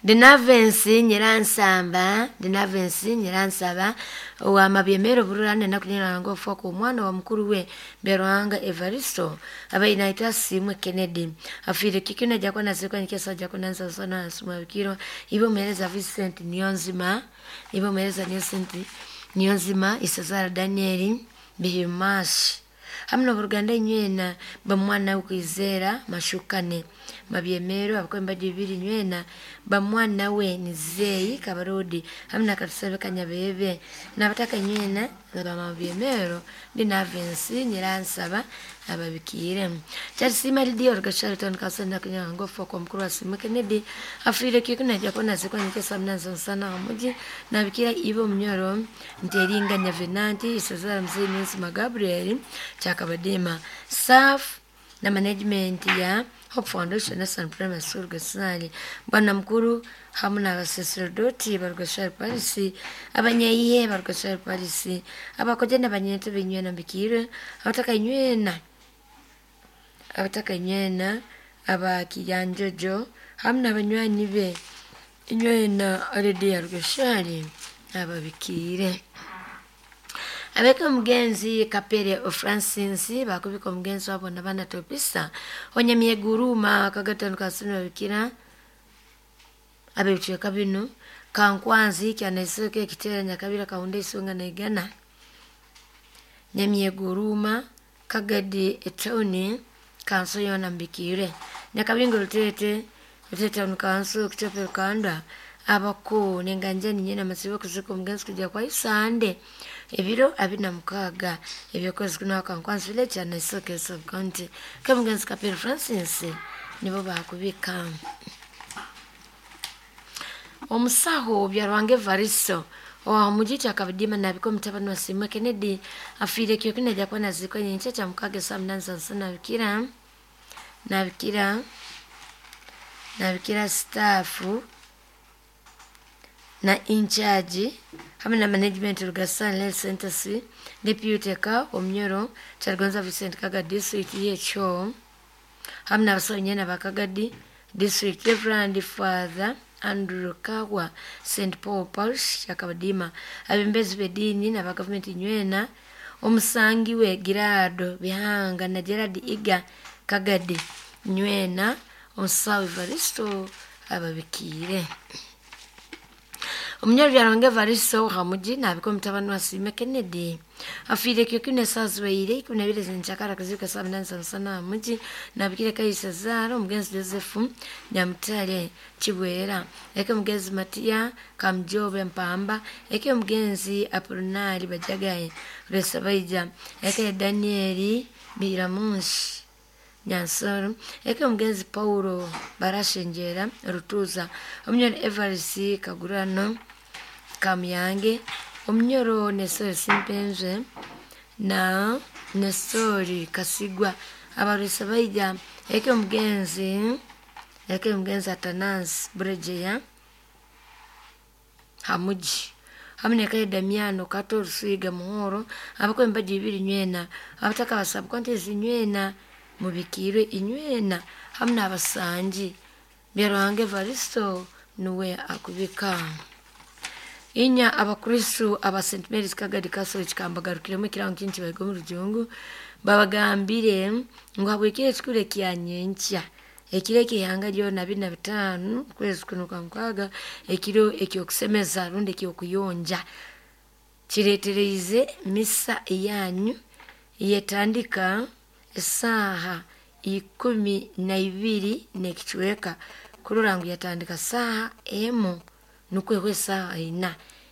Dinavensi Nyiransamba, Dinavensi Nyiransaba wa Mabyemero Bururane nakunyira okufa kw'omwana wa mukuru we Byaruhanga Evaristo abainaitwa Simwe Kennedy afiire kikina jakona zikwa nikesa jakona nsasana sumabikiro ibo muhereza Vincent Niyonzima ibo muhereza Vincent Niyonzima Isazara Daniel Bihimashi hamwe n'oburuganda inywena bamwana we Kwizera Mashukane Mabyemero abakwemba bibiri nywena bamwana we Nizeyi Kabarodi hamwe na Katusabe Kanyabebe n'abataka nywena bamabyemero Dinavensi Nyiransaba ababikire Kyalisima Lidia Orugashari Kasenda Kunyango kwa mukuru wa Simwe Kennedy afiire kikuna jakona zikwa nikesa mnanzo sana omuji nabikira ibo munyoro Nteringanya Venanti Isazara Mzee Niyonzima Gabriel Kyakabadima SAF na management ya Hope Foundation National Primary School Gasali bwana mukuru hamwe n'abasaserdoti barugashari Parisi abanyayihe barugashari Parisi abakoje n'abanyento binywena mbikire abataka inywena abataka inywena abakiyanjojo hamwe n'abanywanyi be inywena already ya Rugashari ababikire abeka omugenzi Kapere Francis bakubika omugenzi wabo nabana topisa onyamyeguruma kagatano kasino babikira abebicweka bino Kankwanzi kyanaisoke ekitera Nyakabira Kahunda Isonga na Igana Nyamyeguruma Kagadi etawuni kanso yona mbikire Nyakabingo Rutete Rutete town kanso Kitope Rukanda abako nenganjani nyena masibo kuzika omugenzi kujja kwa Isande ebiro 26 ebyokwezi kuno Kankwanzi village Kyanaisooke sub county kemugenzi Kapere Francis nibo bakubika omusaho Byaruhanga Evaristo wa mujiti akabidima nabiko mutabani wa Simwe Kennedy afiire kyokina jakwana zikwa nyenkya kya mukaga saa munani za nabikira nabikira nabikira staff na in-charge hamwe na management Rugasani Health Center C deputy ka omunyoro Kyaligonza Vincent Kagadi district y'ekyo hamwe n'abasawo nyena ba Kagadi district Reverend Father Andrew Kawa St Paul Parish Kyakabadima abembezi b'eddiini n'aba gavumenti nywena omusangi we Girado Bihanga na Gerard Iga Kagadi nywena omusawo Evaristo ababikiire omunyoro Byaruhanga Evaristo Hamuji nabika omutabani wa Simwe Kennedy afiire kyokina esaazibaire 12 zenkyakara kuzika saa 8 za musana Hamuji nabikire Kaisa Zara omugenzi Joseph Nyamutale Kibwera eke omugenzi Matiya Kamujobe Mpamba eke omugenzi Apolinari Bajagaye Resabaija eke Danieli Biramunsi Nyansoro eke omugenzi Paulo Barashenjera Rutuza omunyoro Evarisi Kagurano Kamuyange omunyoro Nestori Simpenze na Nestori Kasigwa abarwisa baija eke omugenzi Atanasi Buregeya Hamuji hamwe nekaye Damiano Kato Rusiga Muhoro abakwemba bibiri nywena abataka basabwa ntezi nywena mubikirwe inywena hamwe n'abasangi Byaruhanga Evaristo nuwe akubika inya abakristu aba St Mary's Kagadi Castle kikambagarukiremu ekirango kingi bayiga omu rujungu babagambire ngu habwekiro ekikuru ekya nyenkya ekiro eky'eihanga ryona 25 kwezi kuno kwa mukaaga ekiro ekyokusemeza rundi ekyokuyonja kireetereize misa eyanyu yetandika esaaha 12 n'ekicweka kurora ngu yatandika saaha 1 nukwo ehwa esaaha 4.